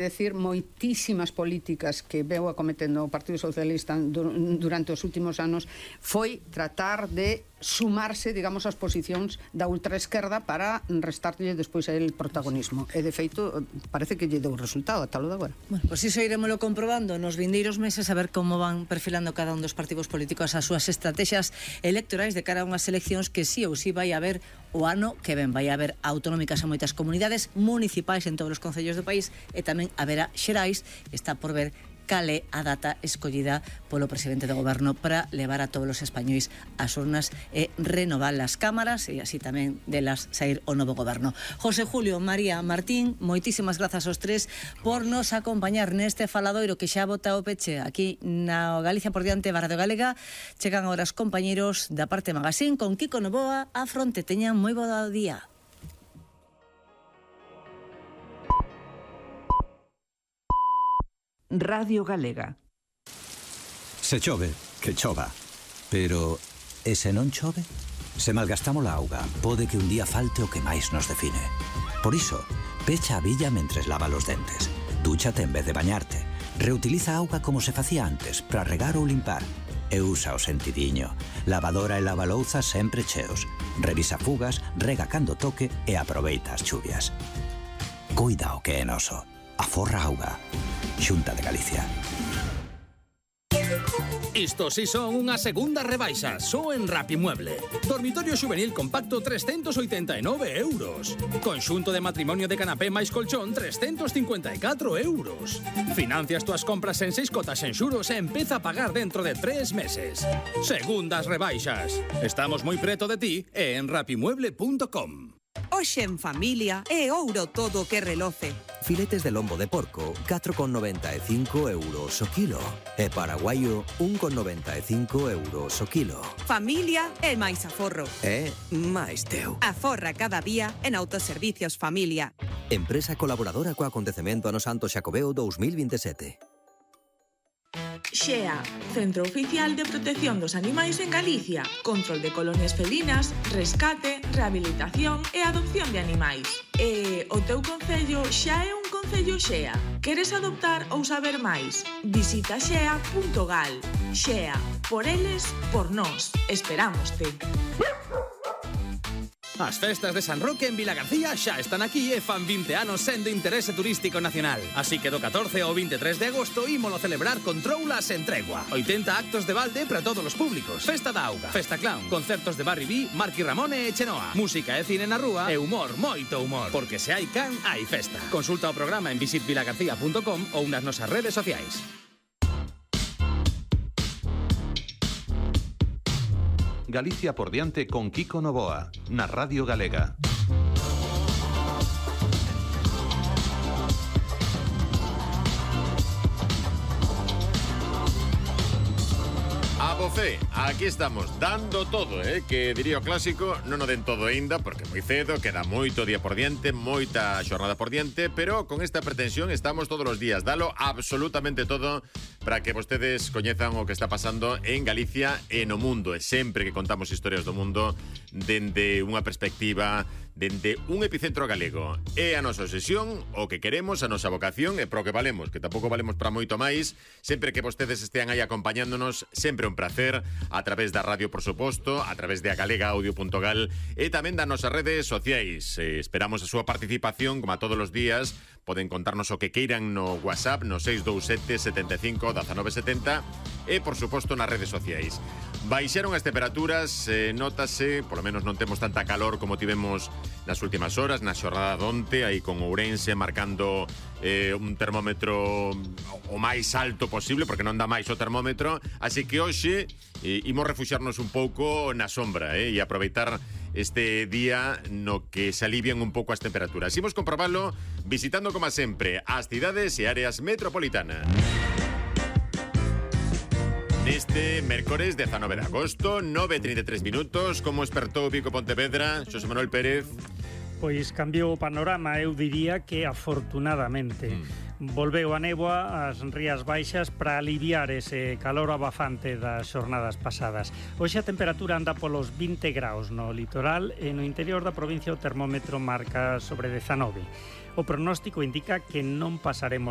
decir, moitísimas políticas que veu acometendo o Partido Socialista durante os últimos anos foi tratar de sumarse, digamos, ás posicións da ultraesquerda para restarlle despois el protagonismo. E, de feito, parece que lle deu resultado ata lo de agora. Bueno, pois iso iremoslo comprobando nos vindeiros meses a ver como van perfilando cada un dos partidos políticos as súas estrategias electorais de cara a unhas eleccións que sí ou sí vai haber o ano que ven. Vai haber autonómicas en moitas comunidades, municipais en todos os concellos do país e tamén haberá xerais. Está por ver cale a data escollida polo presidente do goberno para levar a todos os españois ás urnas e renovar as cámaras e así tamén delas sair o novo goberno. José Julio, María, Martín, moitísimas grazas aos tres por nos acompañar neste faladoiro que xa bota o peche aquí na Galicia por diante Radio Galega. Chegan agora os compañeiros da Parte Magazín con Kiko Novoa a fronte. Teñan moi bo día. Radio Galega. Se chove, que chova. Pero, e se non chove? Se malgastamos a auga, pode que un día falte o que máis nos define. Por iso, pecha a billa mentres lava os dentes. Dúchate en vez de bañarte. Reutiliza a auga como se facía antes, para regar ou limpar. E usa o sentidiño. Lavadora e lavalouzas sempre cheos. Revisa fugas, rega cando toque e aproveita as chuvias. Cuida o que é noso. Aforra auga. Xunta de Galicia. Isto si son unha segunda rebaixa, só en Rapimueble. Dormitorio juvenil compacto 389 euros. Conxunto de matrimonio de canapé máis colchón 354 euros. Financias túas compras en 6 cotas en xuros e empeza a pagar dentro de 3 meses. Segundas rebaixas. Estamos moi preto de ti e en rapimueble.com. Hoxe en familia é ouro todo que reloce. Filetes de lombo de porco, 4,95 euros o kilo. E paraguaio, 1,95 euros o kilo. Familia é máis aforro. É máis teu. Aforra cada día en Autoservicios Familia. Empresa colaboradora co acontecemento Ano Santo Xacobeo 2027. XEA, Centro Oficial de Protección dos Animais en Galicia. Control de colonias felinas, rescate, rehabilitación e adopción de animais. E o teu concello xa é un concello XEA. Queres adoptar ou saber máis? Visita xea.gal. XEA, por eles, por nós. Esperámoste. As festas de San Roque en Vilagarcía xa están aquí e fan 20 anos sendo interese turístico nacional. Así que do 14 ao 23 de agosto ímolo celebrar con troulas en tregua. 80 actos de balde para todos os públicos. Festa da auga, festa clown, concertos de Barry B, Marqui Ramone e Chenoa. Música e cine na rúa e humor, moito humor. Porque se hai can, hai festa. Consulta o programa en visitvilagarcía.com ou nas nosas redes sociais. Galicia por diante con Kiko Novoa, na Radio Galega. Abofé, aquí estamos, dando todo, que diría o clásico, non o den todo aínda, porque moi cedo, queda moito día por diante, moita xornada por diante, pero con esta pretensión estamos todos os días, dalo absolutamente todo para que vostedes coñezan o que está pasando en Galicia e no mundo, e sempre que contamos historias do mundo dende unha perspectiva, dende un epicentro galego. É a nosa obsesión, o que queremos, a nosa vocación, e pro que valemos, que tampouco valemos para moito máis, sempre que vostedes estean aí acompañándonos, sempre un placer, a través da radio, por suposto, a través de agalegaaudio.gal e tamén das nosas redes sociais. Esperamos a súa participación, como a todos os días, poden contarnos o que queiran no WhatsApp, no 627 75 1970 e, por suposto, nas redes sociais. Baixaron as temperaturas, notase, polo menos non temos tanta calor como tivemos nas últimas horas, na xornada donte, aí con Ourense marcando un termómetro o máis alto posible, porque non dá máis o termómetro, así que hoxe imos refuxarnos un pouco na sombra e aproveitar este día no que se alivian un pouco as temperaturas. Imos comprobalo visitando, como sempre, as cidades e áreas metropolitanas. Neste mércores 19 de agosto, 9:33 minutos, como espertou Vico Pontevedra, Xosé Manuel Pérez. Pois cambiou o panorama, eu diría que afortunadamente. Volveu a néboa ás rías baixas para aliviar ese calor abafante das xornadas pasadas. Hoxe a temperatura anda polos 20 graus no litoral e no interior da provincia o termómetro marca sobre 19. O pronóstico indica que non pasaremos